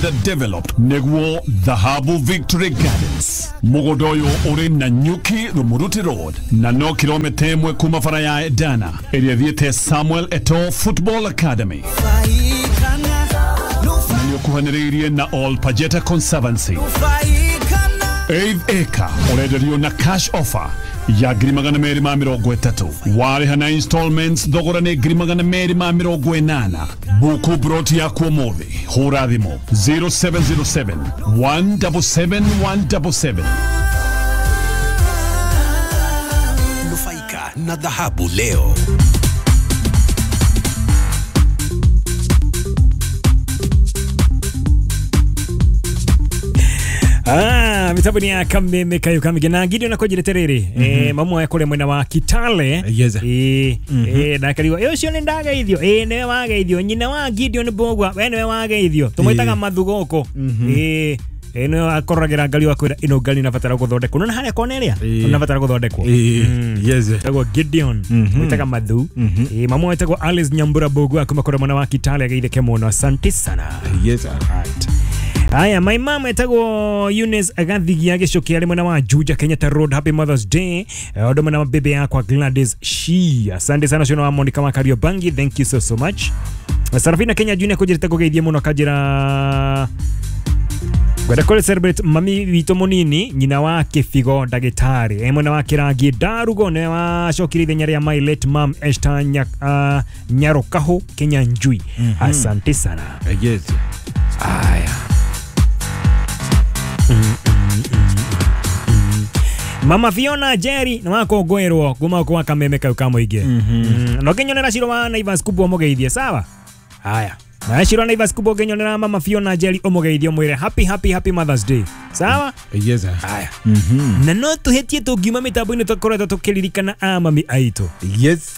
The developed Neguo Dhahabu Victory Gardens. Mugodoyo uri na Nyuki Rumuruti Road na no kilomita 1 kuma bara ya Dana ĩrĩa thiĩte Samuel Eto'o Football Academy. Na nĩũkuhanĩrĩirie na All Pajeta Conservancy. 8 acre ũrenderio na cash offer ya 230,000 warĩha na installments thogora nĩ 280,000. Buku broti yaku ũmũthĩ, hũra thimũ 0707 177 177. Nufaika na dhahabu leo. Ah, mitambo ni ya kameme kayo kamige na Gideon akonjirete riri mamu ya kule mwena wa Kitale. Yes. Na kariwa ucio ni ndagaithio niwe wagaithio nyina wa Gideon Mbugua we niwe wagaithio tumwitaga mathugoko niwe akoragira ngari wakwira ino ngari nabatara guthondekwo nona haria kona ria nabatara guthondekwo. Yes. Etagwo Gideon mwitaga Mathu. Mamu etagwo Alice Nyambura Mbugua kuma kule mwena wa Kitale agaitheke muno, asante sana. Yes. Right. Aya, my mom etagwo Eunice Agathigia Gicuki ari mwena wa Juja Kenyatta Road, happy Mother's Day. Ondo mwena wa bebe yakwa Gladys Shi. Asante sana ciono wa Monica wa Kariobangi, thank you so so much. Sarafina Kenya Junior kujirite kugeithie muno kanjira ngwenda kũrĩ celebrate mami witũ mũnini nyina wa Kĩbigo ndagĩtarĩ mwena wa Kĩrangi Ndarugo nĩwe wacokire ithenya rĩa my late mom Esther Nyarukahu Kenya Njui. Asante sana. Yes. Aya. Mama Fiona Jerry na wakongwirwo kuma kwa kameme kau ka muingi. No nginyonera Ciro wa Naivas kubwa umugeithie sawa. Haya. Na Ciro wa Naivas kubwa nginyonera Mama Fiona Jerry umugeithie umwire happy happy happy Mother's Day. Sawa? Yes. Haya. Na no tuhetie tungiuma mitambo-inĩ tũkoretwo tũkĩririkana a mami aitũ. Yes.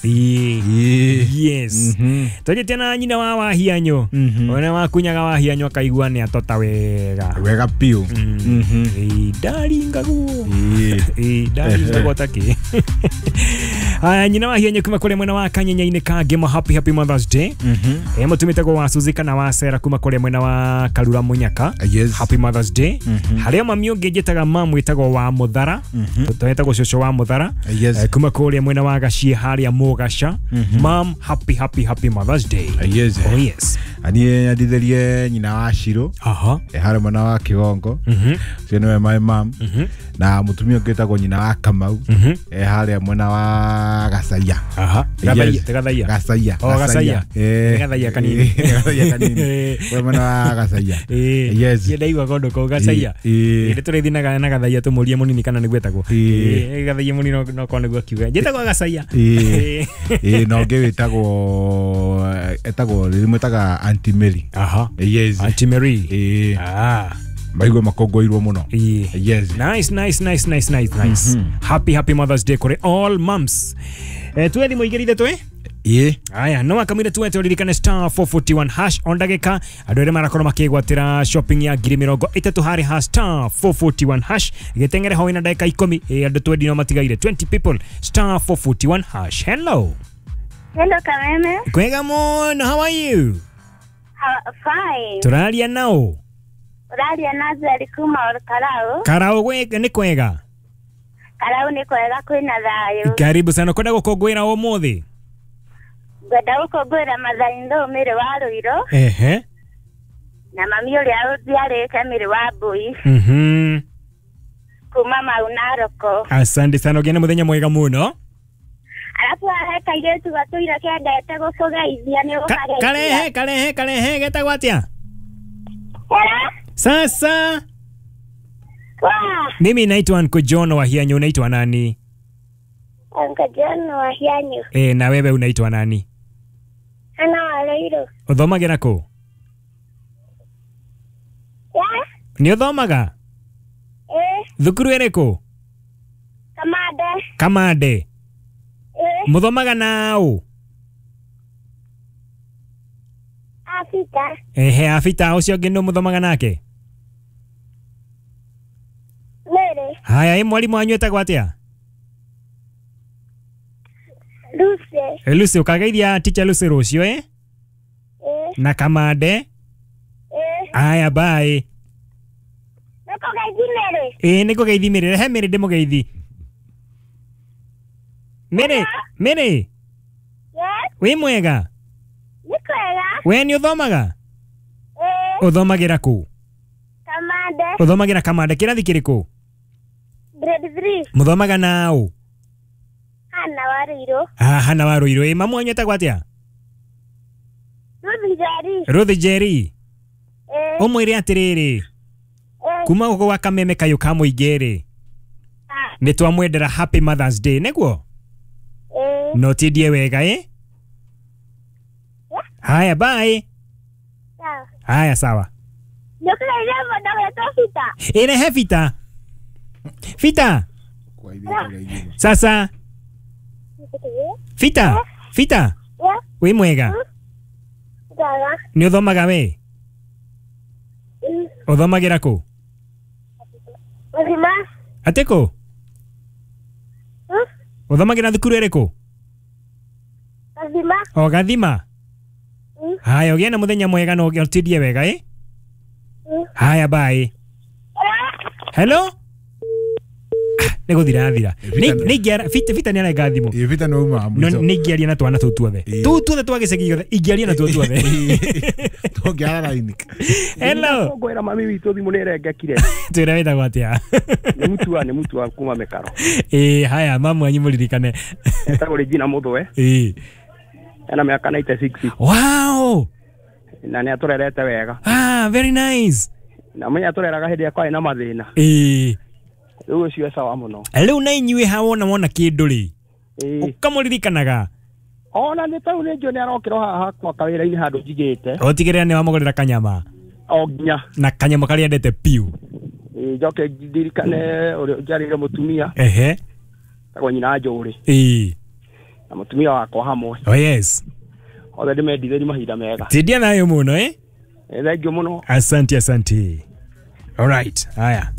Yes. Tũnyitie na nyina wa Wahianyo. Ona wakunyaga Wahianyo akaigua nĩ atota wega. Wega piũ. Ndaringagwo. Ndaringagwo takĩ. Haya, nyina wa Wahianyo kuma kũrĩa mwena wa Kanyenya-inĩ ka Ngĩma, happy happy Mother's Day. Mũtumĩte gwa wa Suzy kana wa Sera kuma kũrĩa mwena wa Karura Munyaka. Yes. Happy Mother's Day. Harĩa mami ũngĩ njĩtaga mamu wĩtagwo wa Mũthara. Twetagwo cũcũ wa Mũthara. Yes. Kuma kũrĩa mwena wa Gaciĩ harĩa Mũgaca. Mom, happy happy happy Mother's Day. Yes. Oh yes. Aniĩ nyendithĩrie nyina wa Ciro. Aha. Harĩa mwena wa Kĩgongo. Ũcio nĩwe my mom. Na mũtumia ũngĩ wĩtagwo nyina wa Kamau. Harĩa mwena wa Gacaia. Aha. Yes. Gathaia. Gacaia. Oh, Gacaia. Gathaia kanini. Gathaia kanini. We mwena wa Gacaia. Yes. Ndaigua kũndũ kũu Gacaia. Nĩ tũrĩthiĩ na Gathaia tũmũrie mũnini kana nĩguo etagwo. Gathaia mũnini no korwo nĩguo akiuga. Njĩtagwo Gacaia. Na ũngĩ wĩtagwo etagwo rĩmwĩtaga Auntie Mary. Aha. Yes. Auntie Mary. Ah. Maigua makongoirwo muno. Yes. Nice nice nice nice nice nice. Happy happy Mother's Day kuri all moms. Tuwe thimũ igĩrĩ ithatũ Aya, no akamwire tuwete uririkane star 441 hash on ndagĩka andũ arĩa marakorwo makĩgwatĩra shopping ya 30,000 harĩ ha star 441 hash gĩteng'ere ho ina ndagĩka 10 andũ 20 no matigaire 20 people star 441 hash. Hello. Hello Kameme. Kwega mũno, how are you? Fine. Tũraria nao. Ũraria na Zeri kuma Karau. Karau nĩ kwega. Karau nĩ kwega kwĩna thayũ. Karibu sana, kwenda gũkũngũĩra ũmũthĩ. Ngwenda gũkũngũĩra Mathai Mĩrĩ wa Rũirũ. Ehe. Na mami ũrĩa ũnjiarĩte Mĩrĩ wa Mbui. Kuma Mau Naroko. Asante sana, ũgĩe na mũthenya mwega mũno. Alafu hahe kairĩtu gatũire kendete gũkũgeithia nĩ ũkageithia. Karehe karehe karehe getagwo atĩa? Hello. Sasa. Wa. Mimi naitwa Uncle John wa Hianyu, unaitwa nani? Uncle John wa Hianyu. Na wewe unaitwa nani? Ana wa Ruiru. Ũthomagĩra kũ? Nĩ ũthomaga? Thukuru ĩrĩkũ? Kamande. Kamande. Mũthomaga na ũ? Afita. Ehe, Afita ũcio ũngĩ nũ mũthomaga nake? Mary. Haya, mwarimũ wanyu etagwo atĩa? Lucy. Lucy, ũkageithia teacher Lucy rũciũ, eh? Na Kamande. Aya bye. Nĩkũgeithi Mary. Ĩĩ nĩngũgeithi Mary, rehe Mary ndĩmũgeithi. Mary, Mary. Yes. Wĩ mwega? Nĩ kwega. We nĩ ũthomaga? Ĩĩ. Ũthomagĩra kũ? Kamande. Ũthomagĩra Kamande, kĩrathi kĩrĩkũ? Grade 3. Mũthomaga na ũ? Hana wa Rũirũ. Ah, Hana wa Rũirũ. Ĩ mamu wanyu etagwo atĩa? Ruth Njeri. Ruth Njeri. Ĩĩ. Ũmwĩre atĩrĩrĩ, kuma gũkũ gwa Kameme kayũ ka mũingĩ rĩ, nĩ twamwendera Happy Mother's Day, nĩguo? Ĩĩ. No tindie wega ĩ? Haya bye. Sawa. Haya sawa. Nĩũkũgeithia mũndũ ũgwĩtwo Peter. Ĩrehe Peter. Peter. Sasa. Peter. Peter. Wĩ mwega? Njega. Nĩ ũthomaga we? Ũthomagĩra kũ? Mũthima. Atĩ kũ? Ũthomagĩra thukuru ĩrĩkũ? Gathima. O Gathima. Haya, ũgĩe na mũthenya mwega na ũtindie wega ĩ? Haya bye. Hello? Nĩ gũthira thira. Fita nĩ arenga thimũ. Ĩ Fita nĩ uma mũico. Nĩ ingĩaria na twana tũu tuothe. Tũu tuothe twa gĩcagi gĩothe ingĩaria na tuo tuothe. Tũngĩara raini. Hello. Ngwĩra mami witũ thimũ nĩ ĩrengekire. Twĩra wĩtagwo atĩa? Nĩ mutua kuma Mĩkaro. Ĩ haya mamu wanyu mũririkane. Etagwo Regina Mũthwe. Ĩ. Ena mĩaka 96. Wow. Na nĩ atũrerete wega. Ah, very nice. Na mwenye atũreraga hĩndĩ ĩrĩa kwarĩ na mathĩna. Ĩ. Rĩu ũcio sawa mũno. Rĩu na inyuĩ ha wona kĩndũ rĩ, ũkamũririkanaga. Ona nĩ tau nĩ njũĩ nĩ arokĩrwo haha hakwa kawĩra-inĩ handũ njigĩte. Ũtigĩrĩra nĩ wamũgũrĩra kanyama. O nginya. Na kanyama karĩa endete piũ. Ĩ njoke ndirikane ũrĩa njarĩire mũtumia. Ehe. Tagwo nyina Njũrĩ. Ĩ. Na mũtumia wakwa hamwe. Oh yes. Othe ndĩmendithĩrie mahinda mega. Tindia nayo mũno ĩ? Thank you mũno. Asante asante. All right. Haya.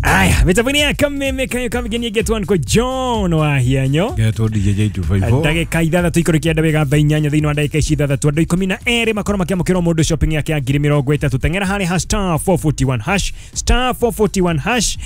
Aya, mitambo ya Kameme kayo kamigeni get one ko John wa hianyo. Getwo DJ J254. Ndagĩka ithathatũ ikũrũ kĩenda wega thaa inyanya thĩinĩ wa ndagĩka ici ithathatũ andũ 12 makorwo makĩamũkĩrwo mũndũ shopping yake ya ngiri mĩrongo ĩtatũ. Teng'era harĩ ha star 441 hash, star 441 hash.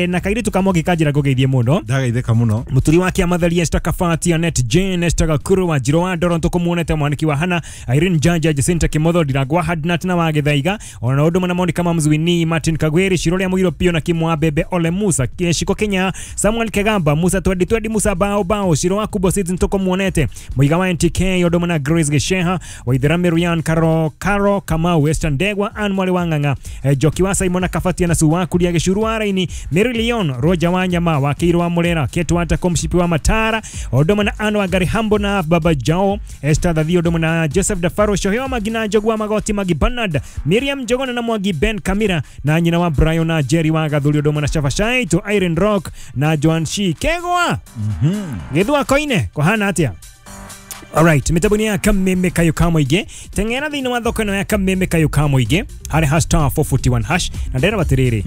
Na kairĩtu kamwe gĩkanjĩra ngũgeithie mũno. Ndagaithĩka mũno. Mũturi wa kĩamatharia Esther Kabati, Annette Jane, Esther Gakuru wa Njiro wa Ndoro tũkũmuonete, mwaniki wa Hana, Irene Janja, Jacinta Kimotho, Ndirangwa Hadnat na wa Gĩthaiga, ona ũndũ na Monica Mamzuini, Martin Kagweri, Shirole ya Mũgiro Pio na Kimwa Bebe, Ole Musa, Shiko Kenya, Samuel Kegamba, Musa Twendi Twendi, Musa Bao Bao, Shiro wa Kubo Seeds ntoko muonete, Muiga wa NTK, Odoma na Grace Gesheha, Waithera Miriam, Karo Kamau, Western Ndegwa, Ann Mwale wa Ng'ang'a, Joki wa Simona Kafatia na Suwa Kuria Gĩcuru wa Raini, Mary Leon, Roger wa Nyama, wa Kĩirũ wa Mũrera, Ketu wa Takomshipi wa Matara, Odoma na Ann wa Gari Hambo na Baba Jao, Esther Thathi, Odoma na Joseph Dafaro, Shoheo Magina, Njogu wa Magoti, Magi Bernard, Miriam Njogona na Mwangi Ben Kamira, na nyina wa Brian na Jerry wa Gathuri, Odoma na Shafashaito, Irene Rock na Joan Shi Kegwa. Githua koine kuhana atia. Alright, mitambo ya Kameme kayo kamoige. Teng'era thĩinĩ wa thoko ĩno ya Kameme kayo kamoige harĩ ha star 441 hash na ndera batirĩrĩ.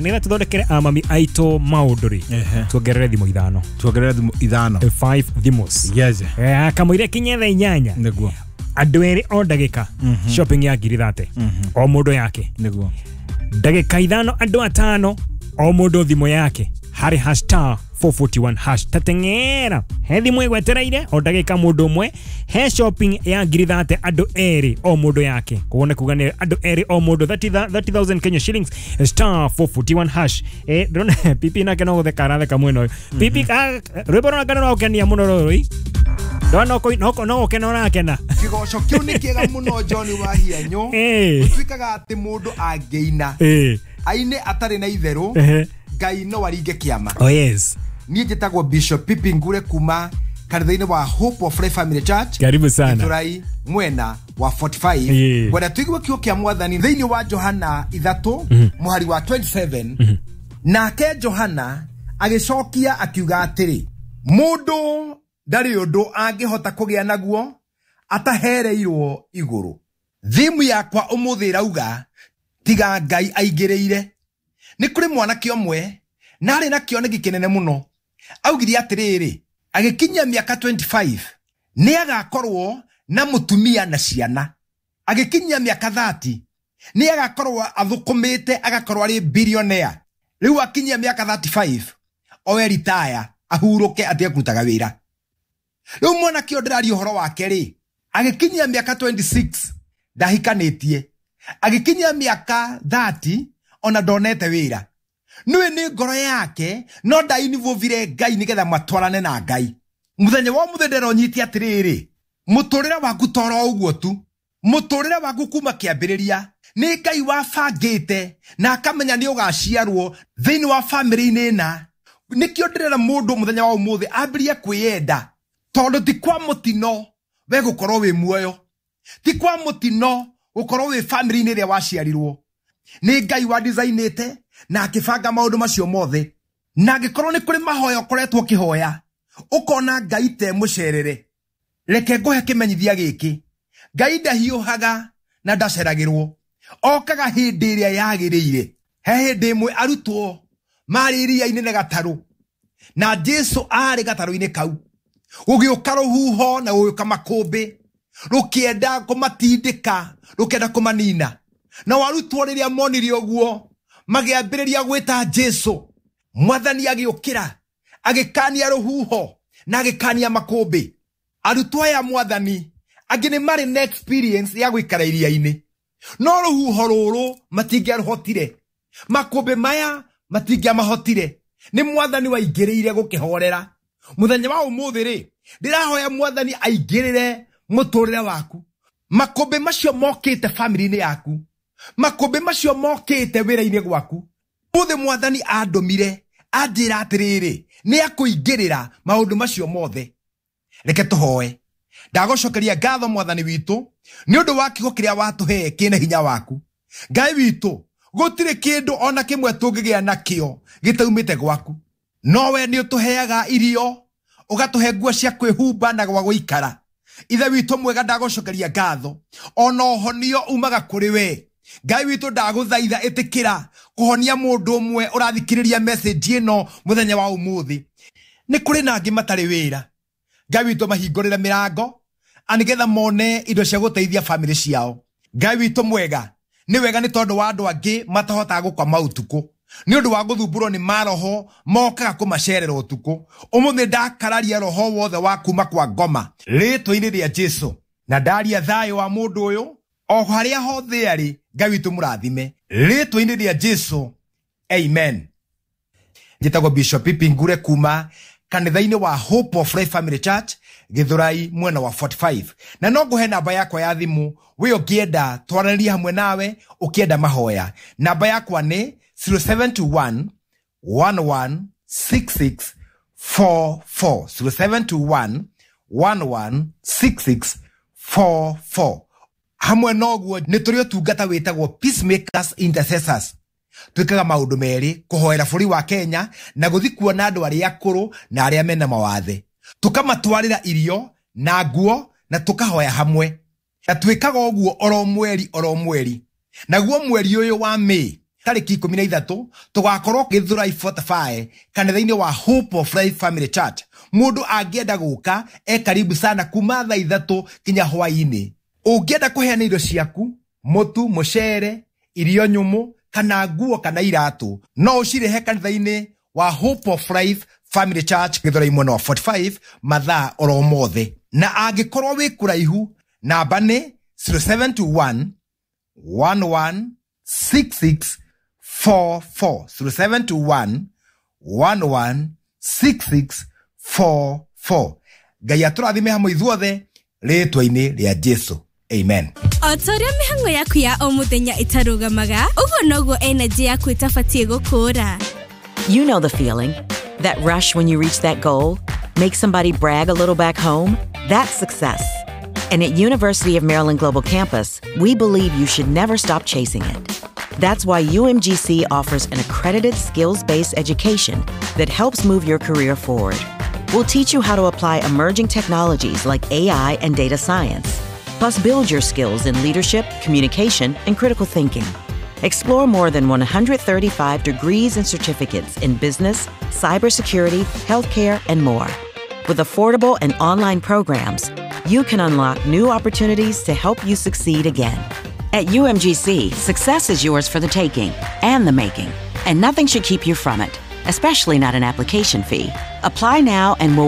Nĩgetha tũthondekere amami aitũ maũndũ rĩ, tuongerere thimũ ithano. Tuongerere thimũ ithano. 5 thimũ. Yes. Kamũira kinye thaa inyanya. Nĩguo. Andũ erĩ o ndagĩka shopping ya ngiri 30 o mũndũ yake. Nĩguo. Ndagĩka ithano andũ atano o mũndũ thimũ yake harĩ ha star 441 hash. Tateng'era he thimũ ĩgwetereire o ndagĩka mũndũ ũmwe, he shopping ya ngiri 30 andũ erĩ o mũndũ yake. Koguo nĩ kuga nĩ andũ erĩ o mũndũ 30,000 Kenya shillings, star 441 hash. Ndĩrona pipi nake no gũtheka aratheka mwena ũyũ. Pipi rwĩmbo rũraka nĩ rwagũkenia mũno rũrũ. No gũkena ũrakena. Kĩgoco kĩu nĩ kĩega mũno John wa Hianyo. Gũtuĩkaga atĩ mũndũ angĩina aine atarĩ na itherũ, Ngai no aringe kĩama. Oh yes. Niĩ njĩtagwo Bishop Pipi Ngure kuma kanitha-inĩ wa Hope of Life Family Church. Karibu sana. Gĩthũrai mwena wa 45. Ngwenda tũigue kiugo kĩa Mwathani thĩinĩ wa Johana 3 mũhari wa 27. Nake Johana agĩcokia akiuga atĩrĩ, mũndũ ndarĩ ũndũ angĩhota kũgĩa naguo atahereirwo igũrũ. Thimu yakwa ũmũthĩ ĩrauga tiga Ngai aingĩrĩire. Nĩ kũrĩ mwanake ũmwe na arĩ na kĩoneki kĩnene mũno. Augire atĩrĩrĩ, agĩkinyia mĩaka 25 nĩ agakorwo na mũtumia na ciana. Agĩkinyia mĩaka 30 nĩ agakorwo athũkũmĩte, agakorwo arĩ billionaire. Rĩu akinyia mĩaka 35 oe retire, ahurũke, atige kũrutaga wĩra. Rĩu mwanake ũyũ ndĩraria ũhoro wake rĩ, agĩkinyia mĩaka 26 ndahikanĩtie, agĩkinyia mĩaka 30 ona ndonete wĩra. Nĩwe nĩ ngoro yake no ndainivũvire Ngai nĩgetha matwarane na Ngai. Mũthenya wa ũmũthĩ ndĩrona ũnyite atĩrĩrĩ, mũtũrĩre waku toro ũguo tu, mũtũrĩre waku kuma kĩambĩrĩria nĩ Ngai wabangĩte na akamenya nĩ ũgaciarwo thĩinĩ wa bamĩrĩ-inĩ ĩna. Nĩkĩo ndĩrera mũndũ mũthenya wa ũmũthĩ ambĩrĩrie kwĩyenda, tondũ ti kwa mũtino we gũkorwo wĩ muoyo, ti kwa mũtino gũkorwo wĩ bamĩrĩ-inĩ ĩrĩa waciarirwo. Nĩ Ngai wa designĩte na akĩbanga maũndũ macio mothe. Na angĩkorwo nĩ kũrĩ mahoya ũkoretwo ũkĩhoya ũkona Ngai te mũcerere, reke ngũhe kĩmenyithia gĩkĩ: Ngai ndahiũhaga na ndaceragĩrwo, okaga hĩndĩ ĩrĩa yagĩrĩire. He hĩndĩ ĩmwe arutwo marĩ iria-inĩ na gatarũ, na Jesu arĩ gatarũ-inĩ kau. Gũgĩũka rũhuho na gũgĩũka makũmbĩ, rũkĩenda kũmatindĩka, rũkĩenda kũmanina. Na arutwo rĩrĩa monire ũguo magĩambĩrĩria gwĩta Jesu. Mwathani agĩũkĩra, agĩkania rũhuho na agĩkania makũmbĩ. Arutwo aya Mwathani angĩ nĩ marĩ na experience ya gũikara iria-inĩ, no rũhuho rũrũ matingĩarũhotire, makũmbĩ maya matingĩamahotire. Nĩ Mwathani waingĩrĩire gũkĩhorera. Mũthenya wa ũmũthĩ rĩ, ndĩrahoya Mwathani aingĩrĩre mũtũrĩre waku. Makũmbĩ macio mokĩte bamĩrĩ-inĩ yaku, makũmbĩ macio mokĩte wĩra-inĩ gwaku, ũmũthĩ Mwathani andũmire anjĩra atĩrĩrĩ, nĩ akũingĩrĩra maũndũ macio mothe. Reke tũhoe. Ndagũcokeria ngatho Mwathani witũ nĩ ũndũ wa kiugo kĩrĩa watũhe kĩna hinya waku. Ngai witũ, gũtirĩ kĩndũ ona kĩmwe tũngĩgĩa nakĩo gĩtaumĩte gwaku. No we nĩ ũtũheaga irio, ũgatũhe nguo cia kwĩhumba na gwa gũikara. Ithe witũ mwega, ndagũcokeria ngatho. Ona ũhonio umaga kũrĩ we. Ngai witũ, ndagũthaitha ĩtĩkĩra kũhonia mũndũ ũmwe ũrathikĩrĩria message ĩno mũthenya wa ũmũthĩ. Nĩ kũrĩ na angĩ matarĩ wĩra. Ngai witũ, mahingũrĩre mĩrango nĩgetha mone indo cia gũteithia bamĩrĩ ciao. Ngai witũ mwega, nĩ wega nĩ tondũ wa andũ angĩ matahotaga gũkoma ũtukũ nĩ ũndũ wa gũthumbũrwo nĩ maroho mokaga kũmacerera ũtukũ. Ũmũthĩ ndakararia roho wothe wa kuma kwa ngoma rĩtwa-inĩ rĩa Jesu, na ndaria thayũ wa mũndũ ũyũ o harĩa hothe arĩ. Ngai witũ mũrathime rĩtwa-inĩ rĩa Jesu, amen. Njĩtagwo Bishop Pipi Ngure kuma kanitha-inĩ wa Hope of Life Family Church, Githurai mwena wa 45, na no ngũhe namba yakwa ya thimũ we ũngĩenda twaranĩrie hamwe nawe, ũkĩenda mahoya. Namba yakwa nĩ 0721 116644, 0721 116644. Hamwe noguo nĩ tũrĩ ũtungata wĩtagwo Peacemakers Intercessors. Twĩkaga maũndũ merĩ: kũhoera bũrũri wa Kenya na gũthiĩ kuona andũ arĩa akũrũ na arĩa mena mawathe, tũkamatwarĩra irio na nguo na tũkahoya hamwe. Na twĩkaga ũguo oro mweri oro mweri. Naguo mweri ũyũ wa May tarĩki 13 tũgakorwo Gĩthũrai 45 kanitha-inĩ wa Hope of Life Family Church. Mũndũ angĩenda gũka e karibu sana kuma thaa 3 kinya hwaĩ-inĩ. Ũngĩenda kũheana indo ciaku, mũtu, mũcere, irio nyũmũ, kana nguo kana iratũ, no ũcirehe kanitha-inĩ wa Hope of Life Family Church, Gĩthũrai mwena wa 45, mathaa oro mothe. Na angĩkorwo wĩ kũraihu, namba nĩ 0721 116644, 0721 116644. Ngai atũrathime hamwe ithuothe rĩtwa-inĩ rĩa Jesu, amen. O ta ũrĩa mĩhang'o yaku ya o mũthenya ĩtarũgamaga, ũguo noguo energy yaku ĩtabatiĩ gũkũra. You know the feeling. That rush when you reach that goal, make somebody brag a little back home. That's success. And at University of Maryland Global Campus, we believe you should never stop chasing it. That's why UMGC offers an accredited skills-based education that helps move your career forward. We'll teach you how to apply emerging technologies like AI and data science, plus build your skills in leadership, communication, and critical thinking. Explore more than 135 degrees and certificates in business, cybersecurity, healthcare, and more. With affordable and online programs, you can unlock new opportunities to help you succeed again. At UMGC, success is yours for the taking and the making, and nothing should keep you from it, especially not an application fee. Apply now and we'll